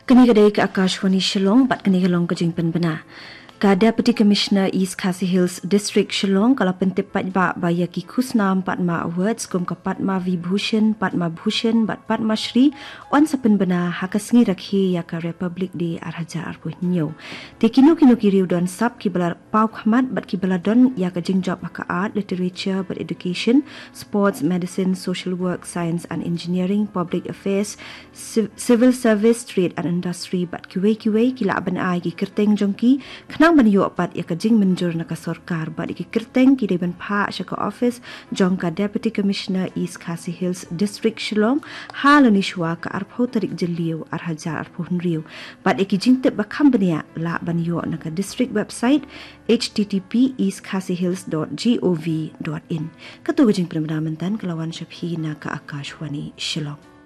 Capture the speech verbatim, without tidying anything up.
Kane ka dei ka Akashvani Shillong bad kane ka long ka jingpynbna. Ka Deputy Commissioner East Khasi Hills District Shillong ka la pyntip paidbah ba ïa ki khusnam Padma Awards kum ka Padma Vibhushan, Padma Bhushan bad Padma Shri yn sa pynbna ha ka sngi rakhe ïa ka Republic Day ar hajar arphew hynñiew. Te kino kino ki riew don sap kiba la paw khmat bad kiba la don ïa ka jingjop ha ka art, literature bad education, sports, medicine, social work, science and engineering, public affairs, civ- civil service, trade and industry bad kiwei kiwei ki lah ban ai ki kyrteng jong ki khnang ban ïoh pat ïa ka jingmynjur na ka sorkar bad ïa ki kyrteng ki dei ban phah sha ka office jong ka Deputy Commissioner East Khasi Hills District Shillong ha lane shuwa ka arphew tarik Jylliew ar hajar arphew hynriew. Bad ïa ki jingtip ba kham bniah lah ban ïoh na ka district website h t t p east khasi hills dot g o v dot in. Kato ka jingpynbna mynta ka la wan sha phi na ka Akashvani Shillong.